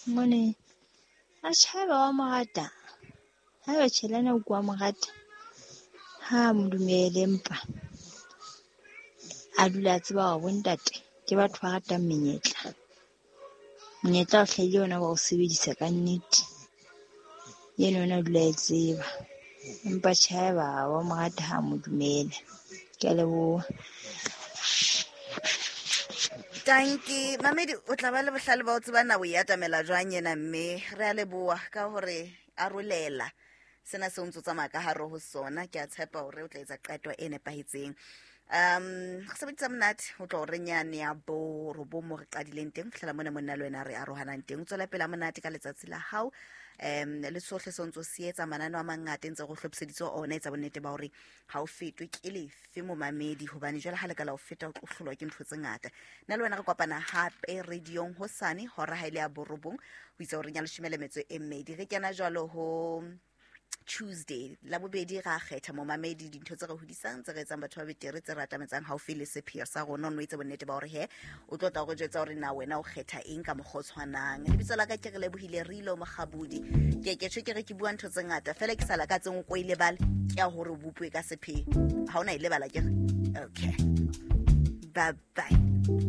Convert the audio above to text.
Mone atjhe haeba wa mo rata, haeba tjhe le yena o wa mo rata, ha mo dumele empa a dula a tseba hore bontate ke batho ba ratang menyetla. Monyetla o hlahile ona wa o sebedisa ka nnete. Eno yona o dula e tseba. Empa tjhe haeba wa mo rata ha mo dumele. Ke a leboha. Tanki mamedi, o tla ba le bohlale ba o tseba na o e atamela jwang ena, mme re a leboa ka hore arolela sena se o ntse o tsamaya ka hare ho sona. Ke a tshepa hore o tla etsa qeto e nepahetseng. Re sebedisa monate ho tloha re nyane ya bo robong mo re qadileng teng ho fihlela mona monna le wena re arohanang teng. O tswela pele a monate ka letsatsi la hao, le sohle se o ntse o se etsa. Mananeo a mangata ntse go hlophiseditse ona, etsa bonnete ba hore ha o fetwe ke lefe momamedi, hobane jwale ha le ka la o feta o tlo hlolwa ke ntho tse ngata. Nna le wena re kopana hape radiong hosane hora ha ile ya borobong ho itsa horeng ya leshome le metso e mmedi. Re kena jwalo ho Tuesday la bobedi, ra kgetha momamedi dintho tse re hodisang, tse re etsang batho ba betere, tse re atametsang haufi le sepheo sa rona. O no itse bonnete ba hore he o tlo tla o re jwetsa hore na wena o kgetha eng ka mokgwa o tshwanang. Lebitso la ka ke re lebohile Rilo Mokgabudi. Ke ke tjho ke re ke bua ntho tse ngata fela ke sa lakatseng o ko e lebale, ke ya hore o bopue ka sepheo. Ha o na e lebala ke re okay, bye bye.